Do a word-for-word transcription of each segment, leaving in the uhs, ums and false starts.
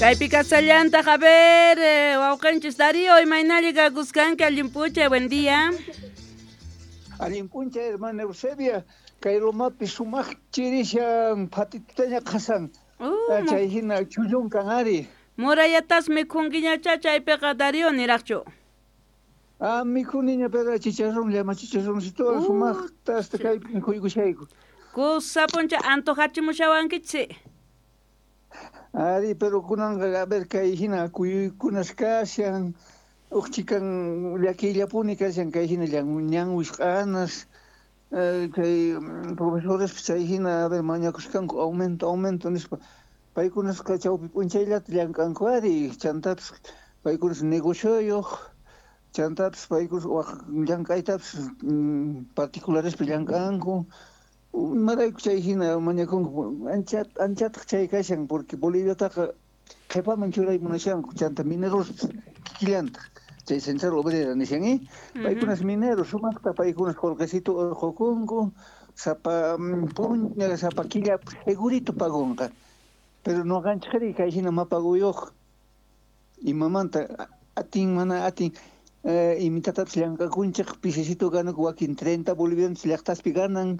Kaypi kasallantaq, a ver, eh, wawqinchis Darío, imaynalla kakuskanki, allin p'unchay, buen día. Allin p'unchay, hermana Eusebia, kay lomapi sumaq chirishan, phatitutaña qasan. Uh, Chay hina chullunkan ari. Murayatas mikhunkiñacha chaypiqa Darío niraqchu. Ah, mikhuniña pero chicharrón, llama chicharroncito, Uh, sumaqta hasta kaypi mikhuykushayku. Kusa puncha antojachimushawankichik. Ari, pero kunanqa, a ver, kay hina kuyuykunas kashan, uq chikan llakiyllapuni kashan, kay hina ñan wisq'anas, eh, kay profesores chay hina, a ver, mañakusqanku aumento, aumento nispa. Paykunasqa chawpi p'unchayllata llank'anku ari, chantapis paykunas negocioyuq, chantapis paykunas waq llank'aytapis particularespi llank'anku. Imarayku chay hina mañakunku, ancha anchataq chay kashan, porque Boliviataqa qhipaman churay munashanku, chanta mineros kikillantaq, chay Central Obrera nishan, eh? Paykunas mineros, sumaqta paykunas qullqisito urqukunku, sapa p'unchay, sapa killa segurito pagunqa. Pero nuqanchikri kay hina mapaguyuq, imamanta atin mana atin, eh, imitatapis llank'akunchik, pisisito gananku wakin treinta bolivianos llaqtaspi ganan,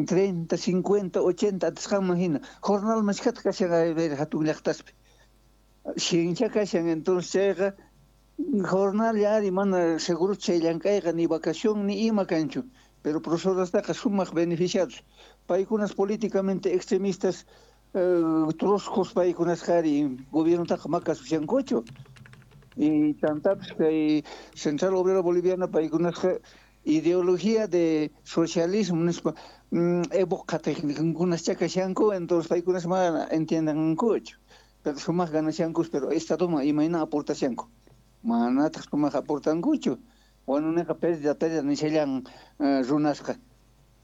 treinta, cincuenta, ochenta atisqanman hina. Jornal mashkata kashan a ver hatun llaqtaspi. Ciencia kashan, entonces chayqa jornal ya ari mana seguro chay llank'ayqa ni vacación ni ima kanchu. Pero profesorastaqa sumaq beneficiados. Paykunas políticamente extremistas, eh, troscos paykunasqa ari gobiernotaqa makasushankuchu. Y chantapis kay Central Obrera Boliviana paykunasqa ideología de socialismo nispa, Evo qatiqninkunas kashanku, entonces paykunas mana entiendankuchu. Pero sumaq ganashankus, pero estadoman imayna aportashanku. Manataq sumaq aportankuchu. Wanuneqa pérdida, pérdida nishallan eh, runasqa.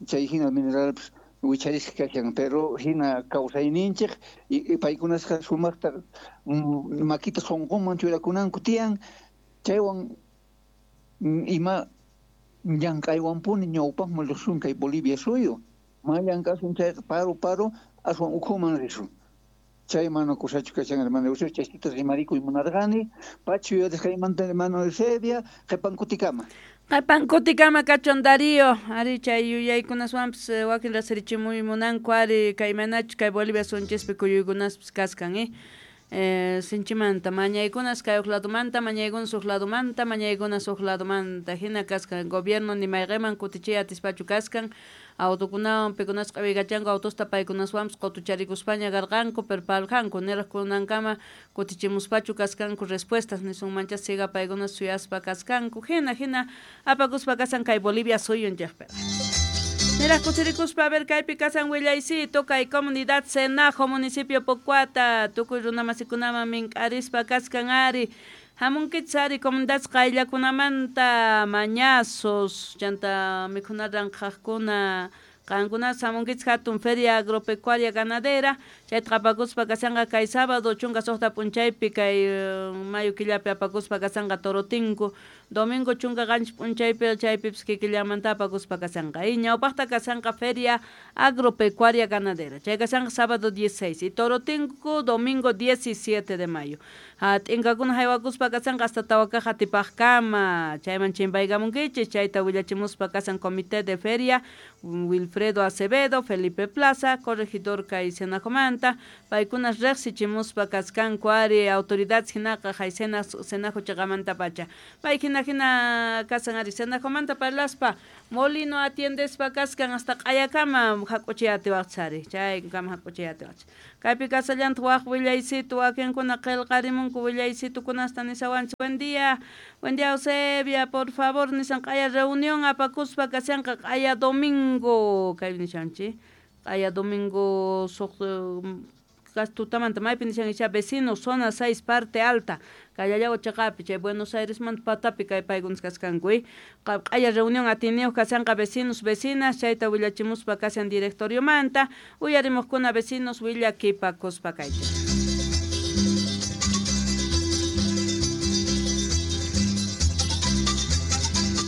Chay hina mineralpis wicharisqa kashan, pero hina kawsayninchik y, y paykunasqa sumaqta mm, makita sunqunman churakunanku tiyan, chaywan mm, ima llank'aywanpuni ñawpaqman risun kay Bolivia suyu. Ma llank'asun chayqa paro paro aswan ukhuman risun. Chay mana kusachu kashan, hermano Eusebio, chayta rimarikuy munarqani, pachu yuyarisqaymanta hermano Eusebia, qhipan kutikama. Qhipan kutikama kachun Darío, ari chay yuyaykunaswanpis wakin rasirichimuy munanku ari kay manachu kay Bolivia sunchispi kuyuykunaspis kaskan, eh? Eh, sinchimanta mañaykunas kay uq ladomanta, mañaykunas uq ladomanta, mañaykunas uq ladomanta, hina kaskan gobierno ni mayqiman kutichiy atispachu kaskan, autokunawan pikunas q'awikachanku autosta paykunaswanpis qutucharikuspaña karqanku, pero parqanku niraq kunankama kutichimuspachu kaskanku respuestas nisunmancha siga paykunas suyaspa kaskanku, hina hina apakuspa kasan kay Bolivia suyunchikpi. Niraq kusirikuspa a ver kaypi kasan willaycito kay comunidad Senajo municipio Pocuata tukuy runamasikunaman mink'arispa kaskan ari hamunkichis ari comunidad qayllakunamanta mañazos chanta mikhuna ranqhaqkuna qankunas hamunkichis hatun feria agropecuaria ganadera chayta apakuspa kasanqa kay sábado chunka suqta p'unchaypi kay mayo killapi apakuspa kasanqa Torotinku domingo chunka qanchis p'unchaypi chaypipis kikillamanta apakuspa kasanqa y ñawpaqta kasanqa feria agropecuaria ganadera chay kasanqa sábado dieciséis y Torotinku domingo diecisiete de mayo t'inkakuna haywakuspa kasanqa hasta tawakaqa atipaqkama chayman chimpaykamunkichis chayta willachimuspa kasan comité de feria Wilfredo Acevedo, Felipe Plaza, corregidor kay Senajomanta, paykunas riqsichimuspa kaskanku ari autoridades hinaqa hay Senajo chiqamanta pacha. Pay hina hina kasan ari Senajomanta parlaspa molino atiendespa kaskan hasta q'ayakama hak'uchiy atiwaqchis ari, chaykama hak'uchiy atiwaqchis. Kaypi kasallantaq waq willaycito wakinkuna qillqarimunku willaycitukunasta nisawanchis. Buen día, buen día Eusebia, por favor nisan q'aya reunión apakuspa kashanqa q'aya domingo kay nishanchik q'aya domingo suq tutamanta maypi nishan icha vecino zona seis parte alta Callao chaqapi chay Buenos Aires manta patapi kay paykunas kaskanku eh q'aya reunión atiniyuq kashanqa vecinos vecinas chayta willachimuspa kashan directoriomanta uyarimuqkuna vecinos willakipakuspa kayta.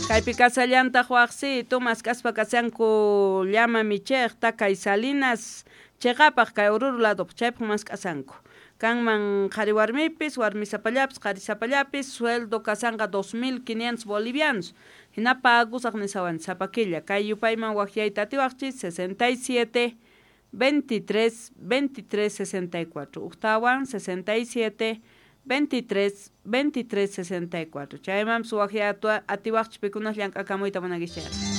Kaypi kasallantaq waqsiytu mask'aspa kashanku llama michiqta kay Salinas Cheqapaq kay Oruro ladopaq chaypaq mask'asanku. Kanman qhari warmipis, warmisapallapis, qarisapallapis, sueldo kasanqa dos mil quinientos bolivianos. Hina pagusaq nisawanchis sapa killa. Kay yupayman waqyayta atiwaqchis sesenta y siete, veintitrés, veintitrés, sesenta y cuatro. Ujtawan sesenta y siete, veintitrés, veintitrés, sesenta y cuatro. Chaymanpis waqyay atiwaqchis pikunas llank'akamuyta munankichis.